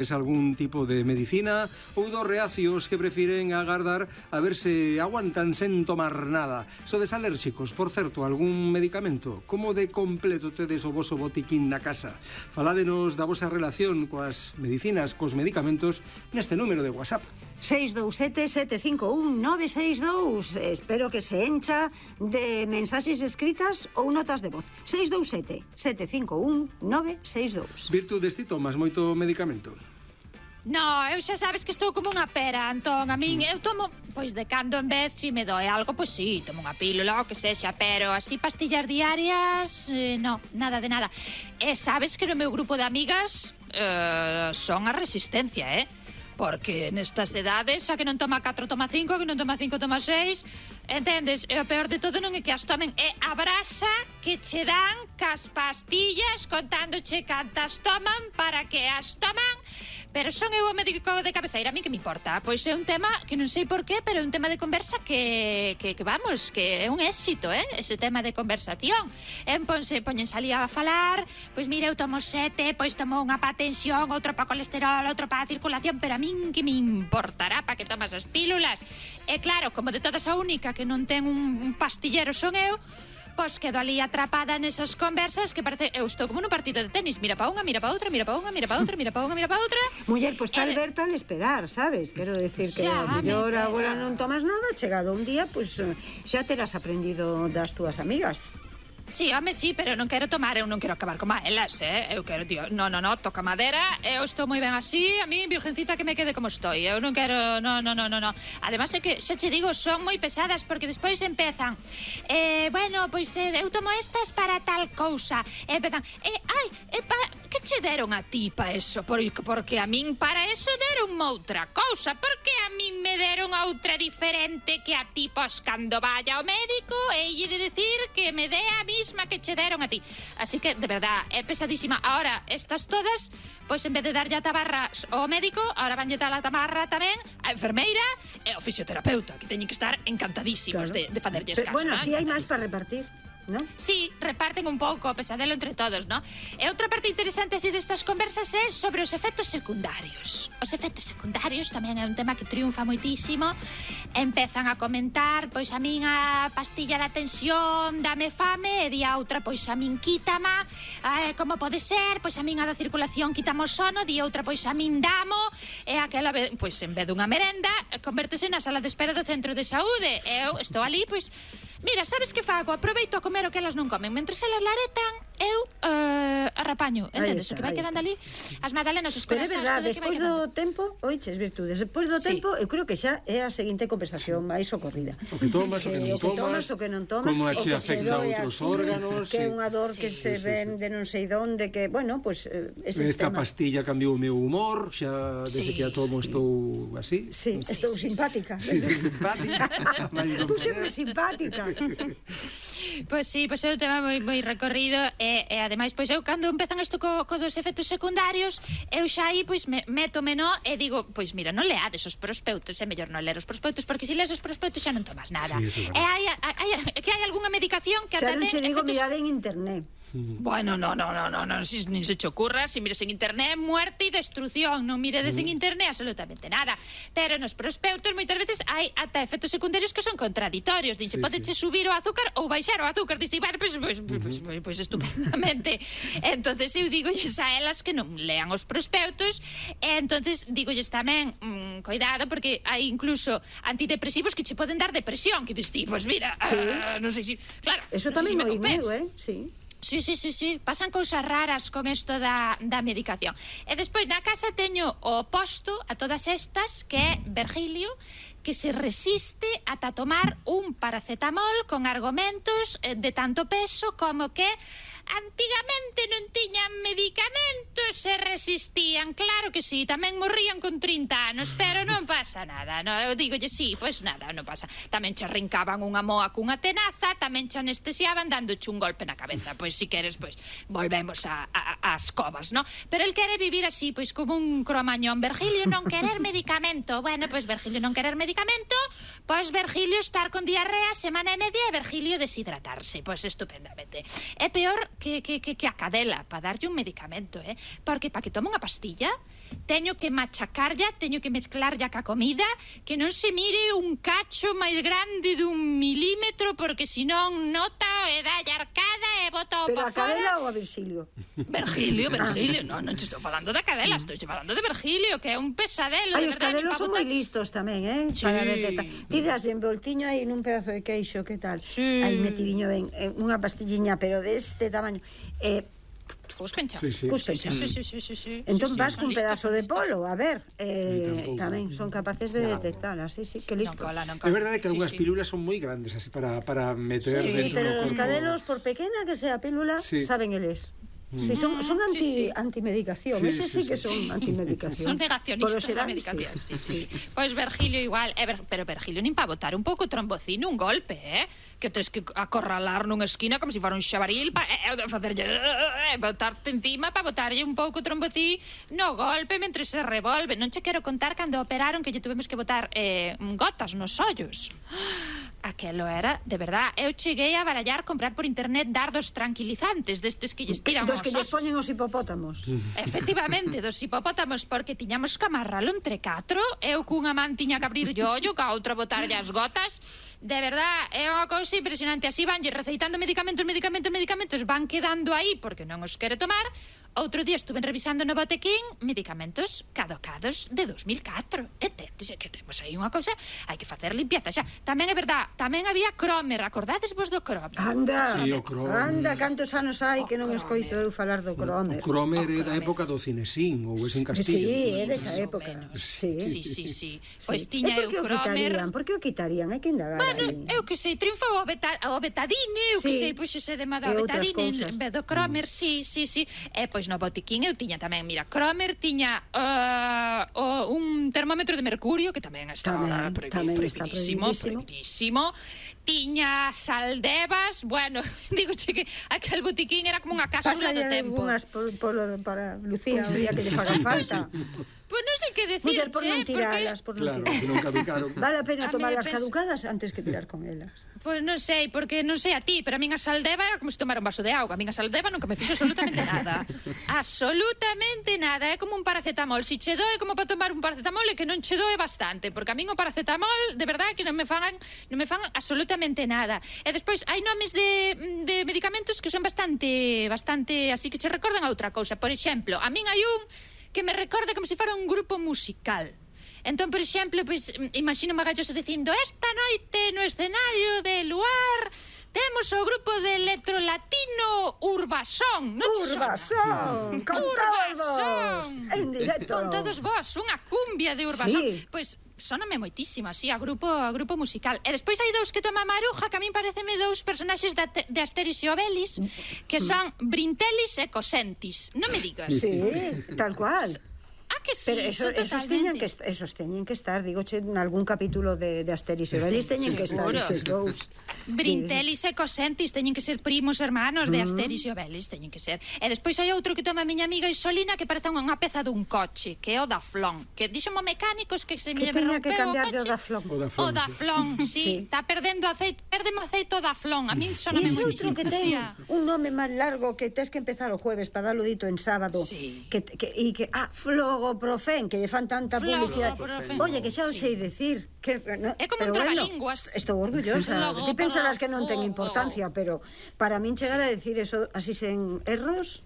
Es algún tipo de medicina ou dos reacios que prefiren agardar a ver se aguantan sen tomar nada. Sodes alérxicos, por certo, algún medicamento? Como de completo tedes o voso botiquín na casa? Faládenos da vosa relación coas medicinas, cos medicamentos, neste número de WhatsApp. 627-751-962. Espero que se encha de mensaxes escritas ou notas de voz. 627-751-962. Virtudes, ti tomas moito medicamento? No, eu xa sabes que estou como unha pera, Antón. A min, eu tomo, pois de cando en vez, se me doe algo, pois sí, tomo unha pílula ou que sexa, pero así pastillas diarias, no, nada de nada. E sabes que no meu grupo de amigas son a resistencia, Porque nestas edades, xa que non toma 4, toma 5, que non toma 5, toma 6, entendes? E o peor de todo non é que as tomen, é a brasa que che dan cas pastillas contándoche cantas toman para que as toman. Pero son eu o médico de cabeceira, a mí que me importa? Pois é un tema que non sei por qué, pero é un tema de conversa que vamos, que é un éxito, ese tema de conversación. Póñense ali a falar, pois mira, eu tomo 7, pois tomo unha pa tensión, outra pa colesterol, outra pa circulación, pero a min que me importará pa que tomas as pílulas? E claro, como de todas a única que non ten un pastillero son eu, pois quedo ali atrapada nesas conversas que parece, eu estou como nun partido de tenis, mira pa unha, mira pa outra, mira pa unha, mira pa outra, mira pa unha, mira pa outra. Muller, pois tal ver, tal esperar, sabes? Quero decir que a mellor agora non tomas nada, chegado un día, pois xa terás aprendido das túas amigas. Sí, home, sí, pero non quero tomar, eu non quero acabar como elas, Eu quero, tío, no, toca madera, eu estou moi ben así, a mí, virgencita, que me quede como estou, eu non quero, no. Ademais é que, xa che digo, son moi pesadas, porque despois empezan, bueno, pois eu tomo estas para tal cousa, e empezan, que che deron a ti pa eso? Porque a min para eso deron outra cousa, porque a min me deron outra diferente que a ti, pois, cando vaya ao médico, e lle de decir que me dé a misma que che deron a ti. Así que, de verdad, é pesadísima. Ahora, estas todas, pois en vez de darlle a tabarra ao médico, ahora vanlle dar a tabarra tamén a enfermeira e ao fisioterapeuta, que teñen que estar encantadísimos de facerlles caso. Bueno, si hai máis para repartir, ¿no? Sí, reparten un pouco o pesadelo entre todos, ¿no? E outra parte interesante así destas conversas é sobre os efectos secundarios. Os efectos secundarios tamén é un tema que triunfa moitísimo. Empezan a comentar, pois a min a pastilla da tensión dame fame, e di a outra, pois a min quítama, como pode ser, pois a min a da circulación quítamo o sono, di outra, pois a min damo, e aquela, pois en vez dunha merenda, convértese na sala de espera do centro de saúde. Eu estou ali, pois, mira, sabes que fago? Aproveito a comer o que elas non comen. Mentres elas laretan, eu arrapaño. Entendes? O que vai quedando ali, as magdalenas, os corazáns. Pero é verdade, despois do tempo, oiches, Virtudes, despois do tempo, eu creo que xa é a seguinte conversación máis socorrida. O que tomas, o que non tomas, o que non tomas, como che afecta a outros órganos. Que é unha dor que se ven de non sei donde, que, bueno, pois, ese esta tema. pastilla cambiou o meu humor, xa desde que a tomo estou así. Sí, estou simpática. Sí, simpática. Puxeme simpática. Pois sí, pois é un tema moi recorrido e ademais, pois eu cando empezan isto co dos efectos secundarios, eu xa aí, pois, métome, no, e digo, pois mira, non leades os prospectos, é mellor non ler os prospectos, porque se lees os prospectos xa non tomas nada. Sí, e hai algunha medicación que xa ata non che digo mirar en internet. Bueno, no, nin se che ocurra. Si mires en internet, muerte e destrucción. Non miredes en internet absolutamente nada. Pero nos prospectos moitas veces hai ata efectos secundarios que son contraditorios. Dice, podeche subir o azúcar ou baixar o azúcar. Dice, bueno, pois estupendamente. Entonces eu digolles a elas que non lean os prospectos. E entonces digolles tamén, cuidado, porque hai incluso antidepresivos que che poden dar depresión. Que dices, pois mira, non sei se... Claro, eso tamén moi meu, sí. Sí, pasan cousas raras con isto da medicación. E despois na casa teño o oposto a todas estas, que é Virgilio, que se resiste ata tomar un paracetamol con argumentos de tanto peso como que antigamente non tiñan medicamentos e resistían. Claro que sí, tamén morrían con 30 anos, pero non pasa nada, no? Eu digolle, sí, pois nada, non pasa. Tamén che arrincaban unha moa cunha tenaza, tamén che anestesiaban dándoche un golpe na cabeza. Pois si queres, pois volvemos ás covas, no? Pero el quere vivir así, pois como un cromañón. Virgilio non querer medicamento. Bueno, pois Virgilio non querer medicamento, pois Virgilio estar con diarrea semana e media e Virgilio deshidratarse. Pois estupendamente. É peor que a cadela para darlle un medicamento, porque para que tome unha pastilla teño que machacarlla, teño que mezclarlla ca comida, que non se mire un cacho máis grande dun milímetro, porque senón nota e dalle arcada e bota o Pero pa a Cadela fora. ou a Virgilio? Virgilio, non te estou falando da Cadela, estou falando de Virgilio, que é un pesadelo, Ai, de os verdade. cadelos son moi listos tamén, Sí. Para detectar. Ti das envoltiño aí nun pedazo de queixo, que tal? Sí. Aí metidiño ben, unha pastilliña, pero deste tamaño. Cuspencha. Sí, sí. Cuspencha. Sí. Entón Sí, vas son cun listos, pedazo son de listos. polo, a ver, tampouco. tamén son capaces de detectalas, sí, que listos. Non É verdade que algunhas sí. pílulas son moi grandes así para meter Sí, dentro pero do os corpo. cadelos, por pequena que sea a pílula, Sí. saben eles. Sí, son sí. antimedicación. Sí, Ese sí, sí que sí, son antimedicación. Son negacionistas da serán, medicación. sí. Sí. Pois Virgilio igual, pero Virgilio nin para botar un pouco trombocino, un golpe, que tens que acorralar nunha esquina como se fora un xabaril facerlle botarte encima para botarlle un pouco trombocín no golpe mentre se revolve. Non che quero contar cando operaron que lle tuvemos que botar gotas nos ollos. Aquelo era, de verdad, eu cheguei a barallar comprar por internet dardos tranquilizantes destes que lles tiran Dos os que lles osos. poñen os hipopótamos. Efectivamente, dos hipopótamos, porque tiñamos que amarralo entre catro. Eu cunha man tiña que abrir o ollo, ca outra botarlle as gotas. De verdad, é unha cousa impresionante. Así vanlle receitando medicamentos, van quedando aí porque non os quere tomar. Outro día estuve revisando no botequín medicamentos caducados de 2004. E que temos aí unha cousa, hai que facer limpieza xa. Tamén é verdad, tamén había Cromer, acordades vos do Cromer? Anda, Sí, o Cromer. anda, cantos anos hai que non escoito eu falar do Cromer. O Cromer é da época do Cinesín ou é en Castillo. Sí, é desa Más ou época. menos. Sí. Sí. Pois tiña E por eu que o Cromer. quitarían? Por que o quitarían? Hai que indagar Bueno, aí. eu que sei, triunfou o betadine, eu que Sí. sei, pois ese de moda E o outras betadine cousas. en vez do Cromer, sí. E pois no botiquín eu tiña tamén, mira, Cromer tiña un termómetro de mercurio que tamén está Tamén está prohibidísimo. Tiña saldevas, bueno, digo que aquel botiquín era como unha cápsula do Pásalle tempo. unhas para Lucía, o día que lle fagan falta. Pois non sei que decir, Muller, por non tiralas, por non Claro, tiralas. que non caducaron. Vale a pena A tomarlas mí caducadas antes que tirar con elas. Pois non sei, porque non sei a ti, pero a min a saldeva era como se tomara un vaso de auga. A min a saldeva nunca me fixo absolutamente nada. Absolutamente nada. É como un paracetamol. Si che doe como para tomar un paracetamol é que non che doe bastante, porque a min o paracetamol, de verdade, que non me fan absolutamente nada. E despois hai nomes de medicamentos que son bastante así que che recordan a outra cousa. Por exemplo, a min hai un que me recorda como se fora un grupo musical. Entón, por exemplo, pues, imagino Magalloso dicindo: esta noite no escenario de Luar temos o grupo de electrolatino Urbasón. Non che sona? Urbasón, con todos, en directo. Con todos vos, unha cumbia de Urbasón. Sí. Pois sóname moitísimo, así, a grupo musical. E despois hai dous que toma Maruja, que a min pareceme dous personaxes de Asterix e Obelix, que son Brintelis e Cosentis. Non me digas. Sí, tal cual. Que sí, Pero esos teñen que estar, digoche, en algún capítulo de Asterix e Obelix teñen que estar eses dous. Brintelis e Cosentis teñen que ser primos hermanos de Asterix e Obelix, teñen que ser. E despois hai outro que toma a miña amiga Isolina que parece unha peza dun coche, que é o Daflón, que dixemos mecánicos que se me Que teña que rompeu o cambiar de coche. Daflón. O Daflón, sí, está perdendo aceite, perdemos aceite o Daflón. A min E soname ese outro moitísimo. que ten un nome máis largo que tes que empezar o jueves para darlo dito en sábado. Sí. Flogoprofen, que lle fan tanta publicidade. Flogoprofen. Oye, que xa o Sí. sei decir. Que, no, É como pero un trabalínguas. estou orgullosa. Flogoprofen. Ti pensarás que non ten importancia, pero para min chegar a decir eso así sen erros,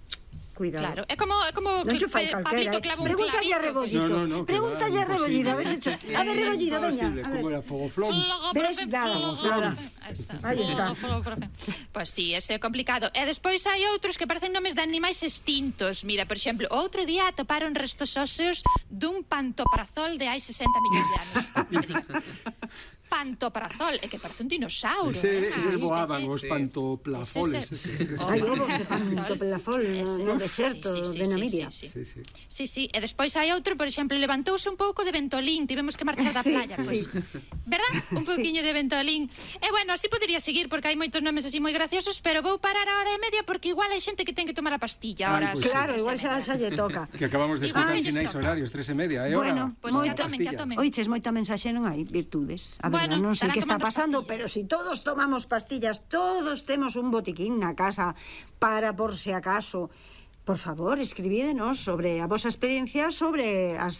cuidado. Claro, é como Non che fai calquera. Pregúntalle a Rebollito. Pregúntalle a Rebollito, a ver se a ver, Rebollito, veña. A Como ver. era Fogoflón. Ves? Nada. Aí está. Pois sí, ese é complicado. E despois hai outros que parecen nomes de animais extintos. Mira, por exemplo, outro día atoparon restos óseos dun pantoprazol de hai 60 millóns de anos. Non me digas. Pantoprazol, é que parece un dinosaurio. Eses voaban os pantoplafoles. Hai ovos de pantopelafol no deserto de Namiria. Sí, e despois hai outro, por exemplo, levantouse un pouco de ventolín, tivemos que marchar da playa, pois. Verdad? Un pouquiño de ventolín. E bueno, así podería seguir porque hai moitos nomes así moi graciosos, pero vou parar a hora e media porque igual hai xente que ten que tomar a pastilla ahora. Claro, igual xa lle toca. Que acabamos de escutar sinais horarios, 3:30, é hora. Bueno, Pois que tomen. Oiches, moita mensaxe non hai virtudes. A verdad, non sei que está pasando, pero si todos tomamos pastillas, todos temos un botiquín na casa para por se acaso. Por favor, escribídenos sobre a vosa experiencia sobre as